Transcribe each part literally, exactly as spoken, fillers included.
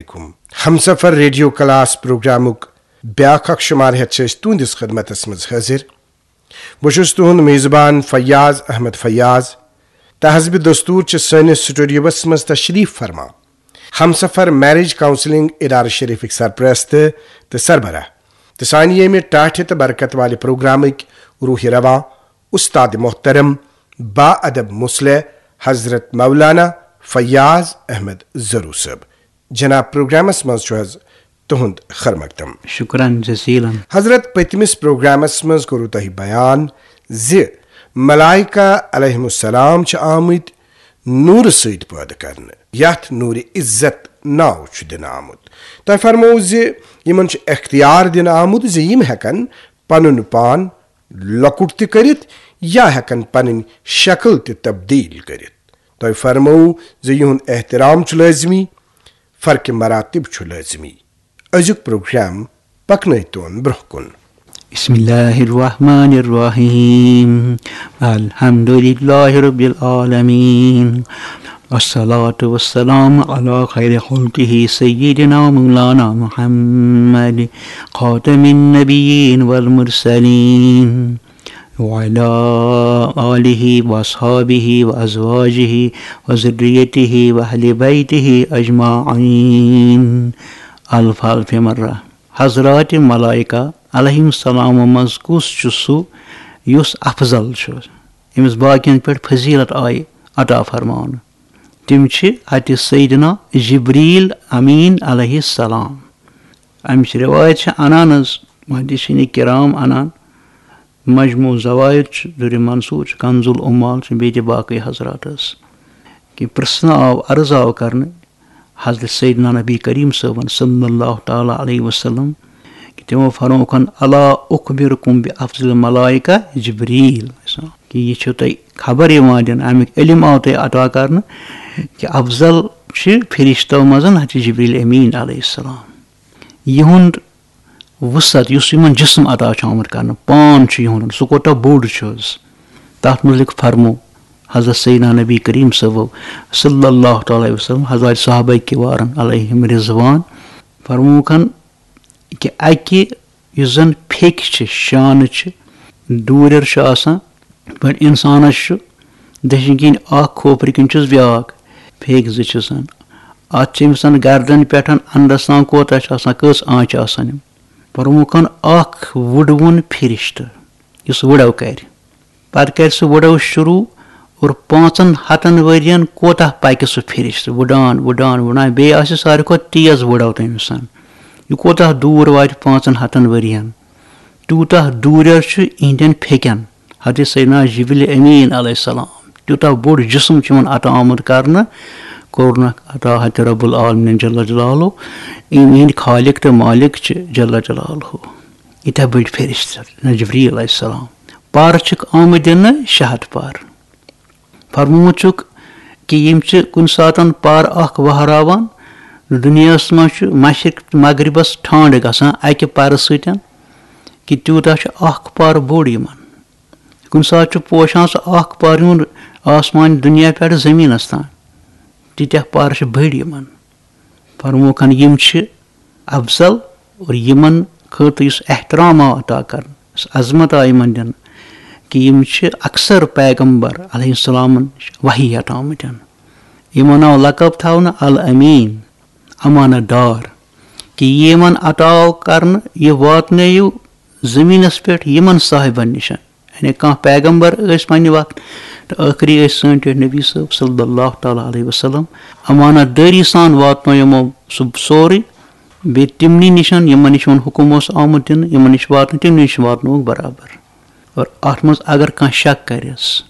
علیکم۔ ہمسفر radio class پروگرامُک بیاکھ اکھ شمار ہیتھ چھِ أسۍ تُہنٛدِس خدمتس منٛز حٲضِر۔ بہٕ چھُس تُہنٛد میزبان فیاض احمد فیاض۔ تحزب دستور چھِ سٲنِس سٹوڈیوس منٛز تشریف فرما۔ ہمسفر میرج کاؤنسلنگ ادارٕ شریفٕکۍ سرپرست تہٕ سربراہ تہٕ سانہِ ییٚمہِ ٹاٹھہِ تہٕ برکت والہِ پروگرامٕکۍ روح رواں، استاد محترم با ادب مصلح حضرت مولانا فیاض احمد زرو صٲب۔ جناب، پروگرامس منٛز چھُ حض تُہُنٛد خیر مقدم۔ شکرن جزیلا۔ حضرت، پٔتمِس پروگرامس منٛز کوٚروٕ تۄہہِ بیان زِ ملائکہ علیہم السلام چھِ آمٕتۍ نوٗرٕ سۭتۍ پٲدٕ کرنہٕ، یتھ نوٗرِ عزت ناو چھُ دِنہٕ آمُت۔ تۄہہِ فرموو زِ یِمن چھُ اختیار دِنہٕ آمُت زِ یِم ہٮ۪کن پنُن پان لۄکُٹ تہِ کٔرِتھ یا ہٮ۪کن پنٕنۍ شکل تہِ تبدیل کٔرِتھ۔ تۄہہِ فرموو زِ یِہُنٛد احترام چھُ لٲزمی، فرقِ مراتب چھُ لٲزمی۔ أزیُک پروگرام پکنٲوتون برونٛہہ کُن۔ بسم الله الرحمن الرحيم. الحمد لله رب العالمين. والصلاة والسلام على خير خلقه سيدنا مولانا محمد خاتم النبيين والمرسلين وعلى آله وأصحابه وأزواجه وذريته وأهل بيته أجمعين. الف الف مرة. حضرات ملائکہ علیہم السلام منٛز کُس چھُ سُہ یُس افضل چھُ، ییٚمِس باقین پٮ۪ٹھ فضیلت آیہِ عطا فرماونہٕ؟ تِم چھِ حضرت سیدنا جبریل امین علیہ السلام۔ امِچ روایت چھِ انان حض، محدثین کرام انان، مجموع زوائد چھُ، در منصور چھُ، کنز العمال چھُ، بیٚیہِ تہِ باقٕے حضرات حض، کہِ پرژھنہٕ آو، عرض آو کرنہٕ حضرت سیدنا نبی کریم صٲبن صلی اللہ تعالیٰ علیہ وسلم، کہِ تِمو فرمووُکھ، الا اخبرکم بافضل الملائکہ جبریل، کہِ یہِ چھُ تۄہہِ خبر یِوان دِنہٕ، امیُک علم آو تۄہہِ عطا کرنہٕ، کہِ افضل چھِ فرشتو منٛز حضرت جبریل امین علیہ السلام۔ یِہُنٛد وسعت، یُس یِمن جسم عطا چھُ آمُت کرنہٕ، پان چھُ یِہُنٛد، سُہ کوٗتاہ بوٚڑ چھُ حض، تَتھ مُتعلِق فرموو حضرت سیدنا نبی کریم صٲبو صلی اللہ تعالیٰ علیہ وسلم حضرات صحابہ کِوارن علیہم رضوان۔ فرمووُکھ کہِ اَکہِ، یُس زن پھیٚکہِ چھِ، شانہٕ چھِ، دوٗرٮ۪ر چھُ آسان، پٲٹھۍ اِنسانس چھُ دٔچھِنۍ کِنۍ اکھ، کھوپرِ کِنۍ چھُس بیٛاکھ، پھیٚکۍ زٕ چھِس۔ اتھ چھِ أمِس گردن پٮ۪ٹھ اندس تام کوتاہ چھُ آسان، کٔژ آنچہِ آسان یِم؟ فرمووُکھ اکھ وُڑوُن فرشتہٕ، یُس وُڑو کرِ۔ پتہٕ کرِ سُہ وُڑو شروع اور پانٛژن ہتن ؤرین کوتاہ پکہِ سُہ فرشتہٕ، وُڑان، وُڑان، وُڑان، بیٚیہِ آسہِ ساروی کھۄتہٕ تیز وُڑو تٔمۍ سُنٛد۔ یہِ کوتاہ دوٗر واتہِ پانٛژن ہتن ؤرین، تیوٗتاہ دوٗرٮ۪ر چھُ یِہنٛدٮ۪ن پھیٚکٮ۪ن۔ حضرت سیدنا جبریل امین علیہ السلام، تیوٗتاہ بوٚڑ جسم چھُ یِمن عطا آمُت کرنہٕ، کوٚرنکھ عطا حضرت رب العالمین جل جلالہ، یِم یِہنٛدۍ خالق تہٕ مالک چھِ جل جلالہ۔ ییٖتیٛاہ بٔڑۍ فرشتہٕ، نہ جبریل علیہ السلام۔ پارٕ چھِکھ آمٕتۍ دِنہٕ شےٚ ہتھ پارٕ۔ فرمومُت چھُکھ کہِ یِم چھِ کُنہِ ساتن پارٕ اکھ وہراوان۔ دُنیاہس منٛز چھُ مشرق تہٕ مغربس ٹھانڈٕ گژھان اکہِ پرٕ سۭتۍ، کہِ تیوٗتاہ چھُ اکھ پارٕ بوٚڑ یِمن۔ کُنہِ ساتہٕ چھُ پوشان سُہ اکھ پارٕ یِمن آسمان دُنیا پٮ۪ٹھ زٔمیٖنس تام۔ تیٖتیٛاہ پارٕ چھِ بٔڑۍ یِمن۔ فرمووُکھ، یِم چھِ افضل، اور یِمن خٲطرٕ یُس احترام آو عطا کرنہٕ، یُس عظمت آو یِمن دِنہٕ، کہِ یِم چھِ اکثر پیغمبر علیہ السلامن وحی ہٮ۪تھ آمٕتۍ۔ یِمن آو لقب تھاونہٕ الامین، امانت دار، کہِ یہِ یِمن عطا آو کرنہٕ، یہِ واتنٲیِو زٔمیٖنس پٮ۪ٹھ یِمن صاحبن نِش۔ یعنی کانٛہہ پیغمبر ٲسۍ پننہِ وقتہٕ، تہٕ ٲخری ٲسۍ سٲنۍ ٹٲٹھۍ نبی صٲب صلی اللہ تعالیٰ علیہ وسلم۔ امانت دٲری سان واتنو یِمو سُہ سورُے، بیٚیہِ تِمنٕے نِش، یِمن نِش یِمن حُکُم اوس آمُت دِنہٕ، یِمن نِش واتنہٕ، تِمنٕے نِش واتنووُکھ برابر۔ اور اتھ منٛز اگر کانٛہہ شک کرٮ۪س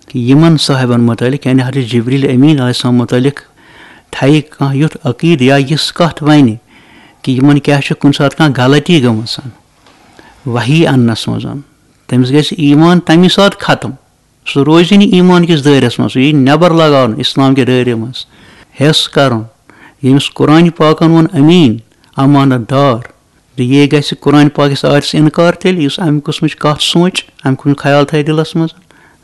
کہِ یِمن صاحبن مُتعلق، یعنی حضرت جبریل امین علیہ السلام مُتعلق تھایہِ کانٛہہ یُتھ عقیٖدٕ یا یِژھ کتھ ونہِ کہِ یِمن کیٛاہ چھِ کُنہِ ساتہٕ کانٛہہ غلطی گٔمٕژ وحی اننس منٛز، تٔمِس گژھِ ایمان تمی ساتہٕ ختم۔ سُہ روزِ نہٕ ایمان کِس دٲیرس منٛز، سُہ یی نٮ۪بر لگاونہٕ اسلام کہِ دٲیرٕ منٛز۔ حٮ۪س کرُن، ییٚمِس قرآنِ پاکن ووٚن امین، امانت دار، تہٕ یہِ گژھِ قرآنِ پاکِس آیتس انکار تیٚلہِ، یُس امہِ قٕسمٕچ کتھ سونچہِ، امہِ قٕسمُک خیال تھایہِ دِلس منٛز۔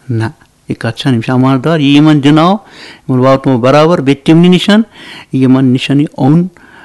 نہ، یہِ کتھ چھنہٕ، یِم چھِ امانت دار، یہِ یِمن دِناو، یِمن واتناو برابر، بیٚیہِ تِمنٕے نِشن، یِمن نِشن یہِ اوٚن